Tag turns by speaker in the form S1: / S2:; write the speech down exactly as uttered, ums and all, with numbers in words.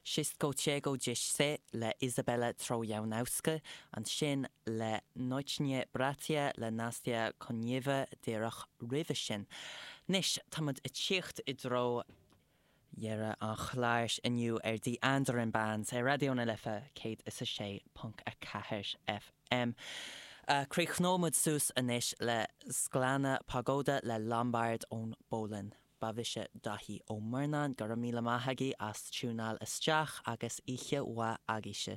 S1: Wszystko Czego Dziś Chcę le Izabela Trojanowska, ansin le Nocnie Bratia le Nastia Konieva díreach roimhe sin. Anois táimid ag tíocht i dtreo dheireadh an chláir inniu ar The Andaran Band ar Raidió na Life céad is a sé ponc a ceathair FM. Uh, Críochnóimid suas anois le Szklana Pogoda le Lombard ón bPolainn. Ba mise Daithí Ó Murnáin go raibh míle maith agaibh as tiúnáil isteach agus oíche mhaith agaibhse.